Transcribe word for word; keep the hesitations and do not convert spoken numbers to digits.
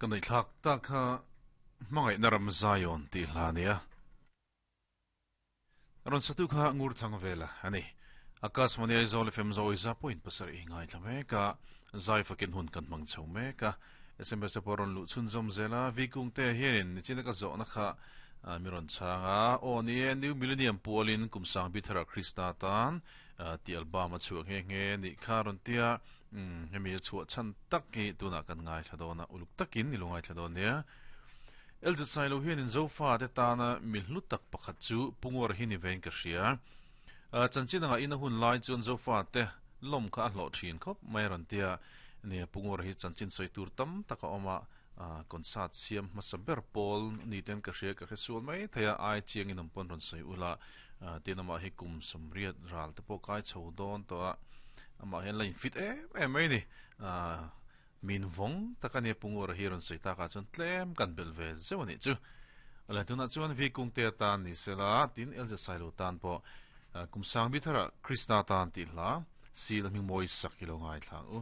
Kan nei thlak tak kha hmangaih na ram Zion tih hla nia. Ron satu kha ngur thang vela ani. Akashvani Aizawl F M zawi za point pasarih ngai thla mek a, zai fakin hun kan hmang chho mek a. S M S pawh rawn luh chhun zawm zel a, Vikung te hianin nichina ka zawhna kha mi rawn chhang a, aw ni e, New Millennium pualin kum sang bi thara Krista tan tih album a chhuah nghe nghe nih kha rawn tia, hemi a chhuah chhan tak hi tunah kan ngaithla dawn a, uluk takin i lo ngaithla dawn nia. L Z Sailo hianin Zofa te tana mi hlu tak pakhat chu Punguar hi ni vein ka hria. Chanchin anga ina hun lai chuan Zofa te lawm kha a hlawh thin khawp mai rawn tia, nia Punguar hi chanchin sawi tur tam tak a awm a, concert siam hmasa ber pawl ni ten ka hria ka hre sual mai thei a, ai chiangin awm pawn rawn sawi ula, tin amah hi kum sawmriat ral te pawh kai chho dawn tawh a, amah hian la infit em em mai ni, min vawng tak a nia Punguar hi rawn sawi takah chuan tlem kan belh ve zeuh a nih chu. Ala tunah chuan V Kungte atan ni sela, tin L Z Sailo tan pawh kum sang bi thara Krista tan tih hla sil a hming mawi sak hi lo ngaithla ang u.